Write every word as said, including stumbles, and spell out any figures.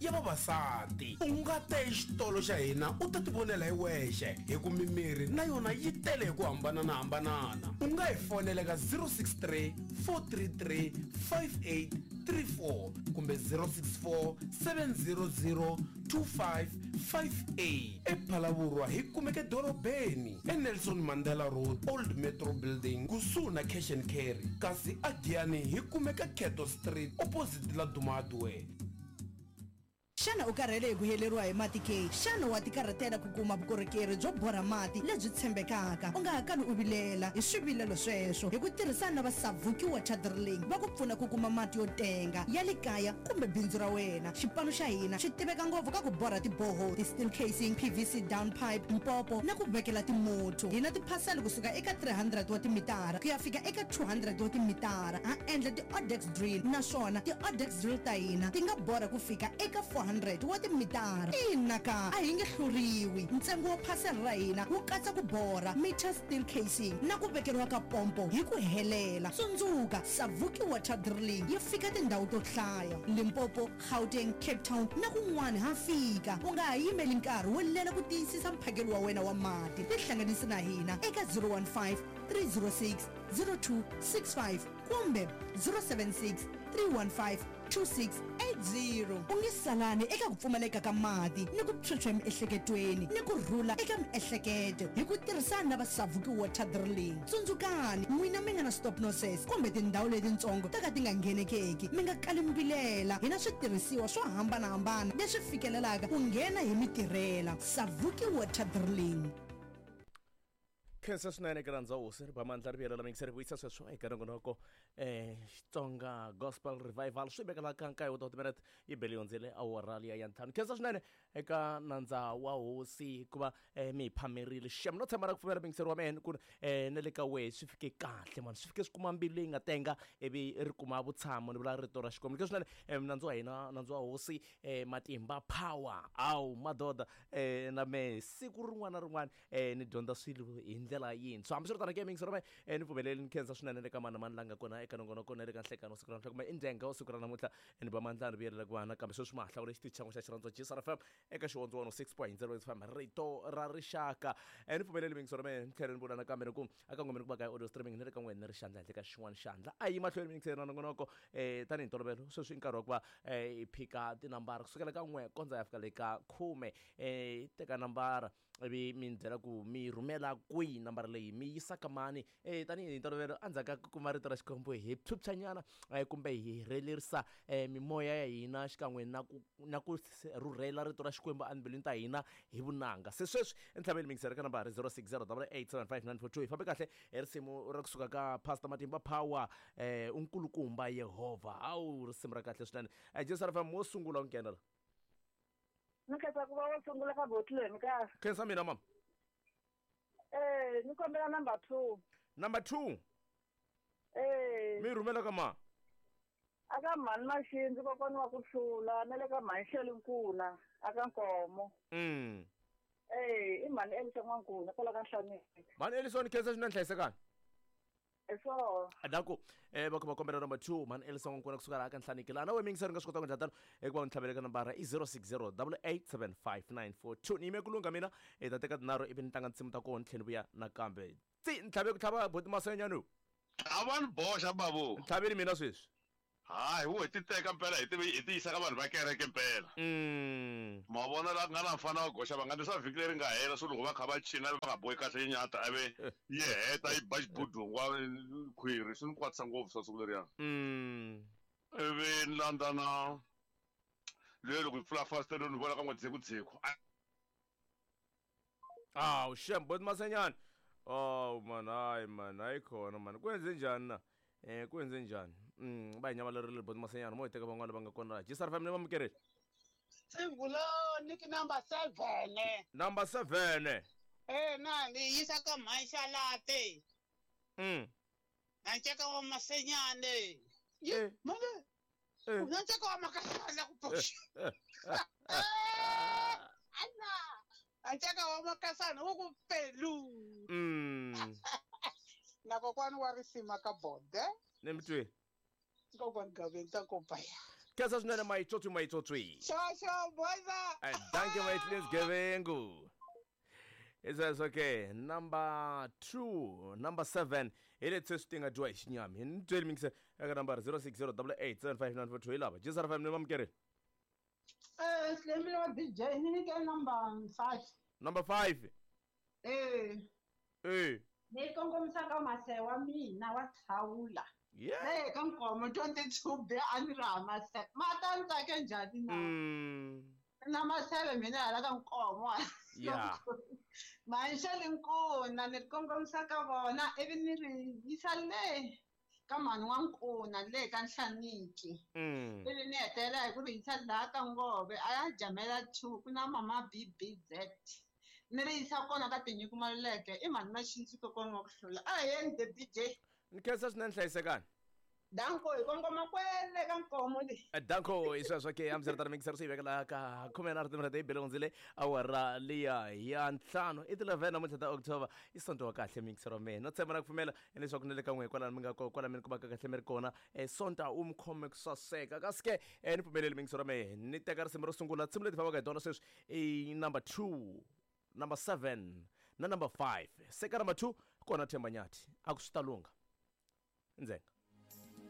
ya vavasati. U nga ta exitolo xa hina u ta tivonela hi wexe hi ku mimiri na yona yi tele hi ku hambananahambanana. U nga hi fonela ka zero six three four three three five eight three four kumbe zero six four seven zero zero two five five eight. ePhalavurwa hi kumeke dorobeni eNelson Mandela Road, Old Metro Building, kusuhi na Cash and Carry. Kasi aGiyani hi kumeka Keto Street opposite la Duma Hardware. Xana u karhele hi ku heleriwa hi mati ke? Xana wa tikarhatela ku kuma vukorhokeri byo borha mati lebyi tshembekaka? U nga ha kali u vilela hi swivilelo sweswo hi ku tirhisana na va Savuki Water Drilling va ku pfuna ku kuma mati yo tenga ya le kaya kumbe bindzu ra wena. Xipano xa hina xi tiveka ngopfu ka ku borha tiboho, ti-steel casing, P V C down pipe, mpopo na ku vekela timotho. Hi na tiphasela kusuka eka three hundred wa timitara ku ya fika eka two hundred wa timitara. Ha endla ti-Odex drill naswona ti-Odex drill ta hina ti nga borha ku fika eka four hundred wa timitara. Ina ka a hi nge hluriwi. Ntsengo wa phasela ra hina wu katsa ku borha, meter steel casing na ku vekeriwa ka pompo hi ku helela. Tsundzuka, Savuki Water Drilling yi fika tindhawu to hlaya: Limpopo, Gauteng, Cape Town na kun'wana ha fika. U nga ha yimeli nkarhi wo lela ku tiyisisa mphakelo wa wena wa mati. Tihlanganisi na hina eka zero one five three zero six zero two six five kumbe zero seven six three one five two six eight zero. U nge salani eka ku pfumaleka ka mati ni ku phyuphya emiehleketweni ni ku rhula eka miehleketo hi ku tirhisana na va Savuki Water Drilling. Tsundzukani, n'wina mi nga na stop nonsense kumbe tindhawu letitsongo ta ka ti nga nghenekeki, mi nga kali mi vilela. Hi na switirhisiwa swo hambanahambana leswi fikelelaka ku nghena hi mitirhela. Savuki Water Drilling. Khensa swinene eka rhandza hosi ri ba mandla ri vuyela mixer vuyisa sweswo eka nongonoko eh Xitsonga Gospel Revival swi vekela ka nkaye wa timinete yi bele yondzele awara liya ya ntlhanu. Khensa swinene eka nandza wa hosi hikuva eh, mi hi phamerile xem no tshemba ra ku pfumela mixer wa mina ku eh, na le ka wehe swi fike kahle mani, swi fike swi kuma mbilu leyi nga tenga ivi ri kuma vutshamo ni vula rito ra Xikwembu. Khensa swinene eh, nandza wa hina nandza wa hosi eh, Matimba Power awu madoda eh, na me siku rin'wana na rin'wana eh, ni dyondza swilo hi ndlela yintshwa. Hambiswiritano ke mixer wa mina eh, ni pfumeleli ni khensa swinene le ka mani na mani la nga kona eka nongonoko na le ka nhlekano wa siku ra namuntlha kumbe i ndyenga wa siku ra namuntlha ni ba mandla ni vuyelela ku vana kambe sweswi ma ha hlawule xitichi xa n'we xa Xirhandzo G S R F M eka xihondzo one oh six point zero F M rito ra rixaka. Eh, ni pfumeleli mixer wa mina ni tlhela ni vula nakambe ni ku aka n'we ni ku va ka audio streaming ni le ka n'we ni ri xandla handle ka xin'wana xandla a yi mahlweni mixer na nongonoko eh, tanihi ntolovelo sweswi i nkarhi wa ku va eh, hi phika tinambara kusukela ka n'we kondza ya fika le ka khume. Eh, teka nambara ivi mi ni byela ku mi rhumela kwihi nambara leyi mi yisa ka mani. Eh, tanihi ntolovelo endzhaku ka ku kuma rito ra Xikwembu hi phyuphyanyana eh, kumbe hi rhelerisa eh, mimoya ya hina xikan'we na ku na ku rhurhela rito ra Xikwembu embilwini ta hina hi vunanga. Se sweswi entlhaveni mixer ka nambara zero six zero double eight seven five nine four two hi fambe kahle hi risimu ra kusuka ka Pastor Matimba Power eh, unkulukumba Yehovha. Hawu risimu ra kahle swinene. Eh, Jesu R F M wo sungula u nghena la. Ni khensa ku va wo sungula ka botleni ka. Khensa mina mama. Eh, ni kombela number two. Number two. Eh. Mi rhumela ka ma? Aka mhani Maxindzi kokwana wa ku hlula na le ka mhani Xeli Nkuna aka Nkomo. Mm. Eh, i mhani Elisa N'wankuna kwala ka Nhlaneki. Mhani Elisa ni khensa swinene hlayisekani. Eso. Adaku eh va ku kombela number two mhani Elisa N'wankuna kusuka laha ka Nhlaneki. Laha na we mixer nga swi kota ku endla tano hikuva u ntlhavele ka nambara i zero six zero double eight seven five nine four two. Ni yime ku lungha mina hi ta teka tinharhu ivi ni tlanga tinsimu ta kona ni tlhela ni vuya nakambe. Tsi ntlhave ku tlhava boti Masenyani. A va ni boxa babu. Ntlhaveni mina sweswi. Hayi wo hi ti teka mpela hi ti hi ti yisa ka vanhu va kereke mpela. Mm. Ma vona la nga na mfana wa goxa va nga ndisa vhiki leri nga hela swo loko va kha va china va nga bohi kahle yinyata ave yi heta yi ba xibudungu wa khwiri swi ni kwatisa ngopfu swa siku leriya. Mm. Ivi ni landza na leyo loko yi pfula fasitere ni vona ka n'we dzekudzeko. Awu shem boti Masenyani. Oh man hayi man hayi khona man ku endze njhani na? Eh ku endze njhani? Mm ba hi nyamalerile boti Masenyani mo hi teka van'wana va nga kona laha. G S R F M ni va mukereli. Singuloni ki number seven. Number seven. Eh na ni yisa ka mhani Xalate. Mm. Na nceka wa Masenyani. Eh. Manje. Eh. Na nceka wa Makasana ku pfuxa. Ana. Nceka wa Makasana wu ku pelu. Mm. Na kokwani wa risima ka bode. Ni mi twi. Kokwani Gaveni ta kopaya. Khensa swinene mayitswotswi mayitswotswi. Xo boza. Eh, dankie my cleans gebengu. Isweswo ke number two, number seven hi leti sweswi ti nga dyiwa hi xinyami. Ni byeli mingise eka nambara zero six zero double eight seven five nine four two hi lava. J S R F M ni mamukeri. Eh, Slemile wa D J, ni nyike number five. Number five. Eh, Eh. ni kongomisa ka mase wa mina wa thawula. Yeah. Le ka Nkomo twenty-two B a ni ri ha maseve. Ma ta ni tsake njhani na? Mm. Na maseve mina hala ka Nkomo. Yeah. Manxeli Nkuna ni ri kongomisa ka vona ivi ni ri yisa le ka mhani wa Nkuna le ka Nhlaniki. Mm. Ivi ni hetelela hi ku ri yisa laha ka Ngove a ya jamela two ku na mama B B Z. Ni ri yisa kona ka Tinyiko Maluleke i mhani Maxindzi kokwana wa ku hlula. A hi yeni the D J. Ni khensa swinene, hlayisekani. Danko, hi kongoma kwele ka Nkomo le. Eh, danko hi sweswo ke hambiswiritano mingisero swi yi vekela ka khume na timinete yi bele hundzile awara liya ya ntlhanu, i ti-eleven namuntlha ta October, i Sonto wa kahle mingisero wa mina. No tshemba na ku pfumela leswaku na le ka n'we kwalano mi nga ko kwala mi ni kumaka kahle mi ri kona, um Sonta u mi khome ku saseka. Kasi ke um ni pfumeleli mingisero wa mehe ni teka risimu ro sungula. Nsimu leti fambaka hi tona sweswi i number two, number seven na number five. Se ka number two kona Themba Nyathi, a ku swi ta lungha ndzhenga.